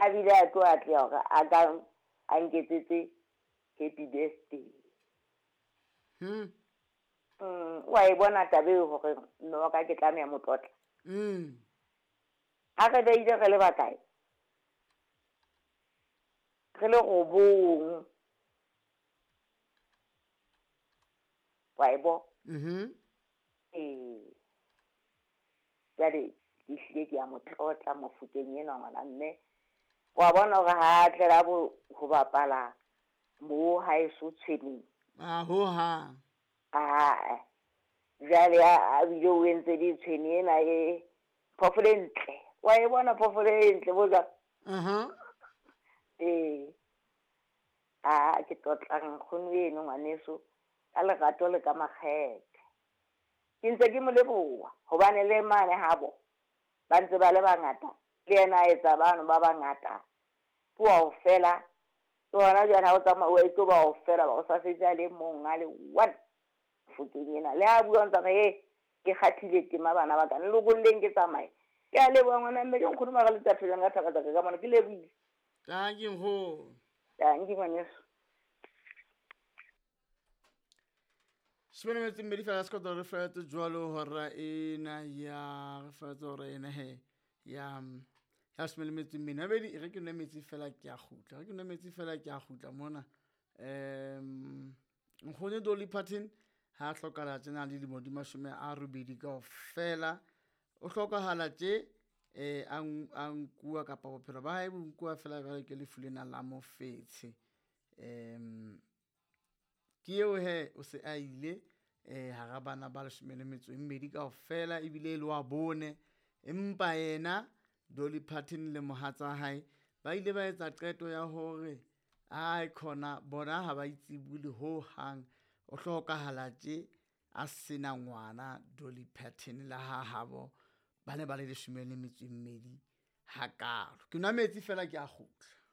A bile a tlo atleha hore a ka a nketsetse happy birthday. Wa e bona taba eo hore mme wa ka ke tlameha mo tlotla. Ha re beile re le bakae? Re le robong. Wa e bona? Ee. Jwale ke hlile ke a mo tlotla Mofokeng enwa ngwana mme. Wa bona hore ha a tlela bo ho bapala mo haeso tshweneng. A ho hang. Aa. Jwale a bile o entse le tshwene ena e phoofolo e ntle. Wa e bona phoofolo e ntle bo jwang? Ee. A ke tlotla nkgono eno ngwaneso ka lerato le ka makgethe. Ke ntse ke mo leboha hobane le mane habo ba ntse ba le bangata, le yena a etsa bano ba bangata. Ke wa ho fela, ke hona jwale ha o tsamaya o tlo ba ho fela ba o sa setse a le mong a le one Mofokeng ena. Le ha bua ntse re ke kgathile tema bana ba ka le lokolleng ke tsamaye. Ke a leboha ngwana mme ke nkgono mara le tsa ka thaba tsa ka mona ke lebohile. Dankie nkgono. Dankie ngwaneso. Shebane metsi mmedi fela sekotlo re fetse jwalo hora ena ya re fetse hora ena he ya ya shebane metsi mmedi mabedi re ke nwe metsi fela ke a kgutla re ke nwe metsi fela ke a kgutla mona. Nkgono Dolly Parton ha hlokahala tjena le dilemo di 80 kaofela. O hlokahala tje a nkuwa kapa bophelo ba hae bo nkuwa fela jwale ke lefu lena la mofetshe. Ke eo he o se a ile hara bana ba 12 kaofela ebile le wa bone, empa yena Dolly Parton le mohatsa hae ba ile ba etsa qeto ya hore ai khona bona ha ba itsebule ho hang. O hlokahala tje a sena ngwana Dolly Parton la ha habo ba ne ba le 12 hakalo. Ke nwa metsi fela ke a kgutla.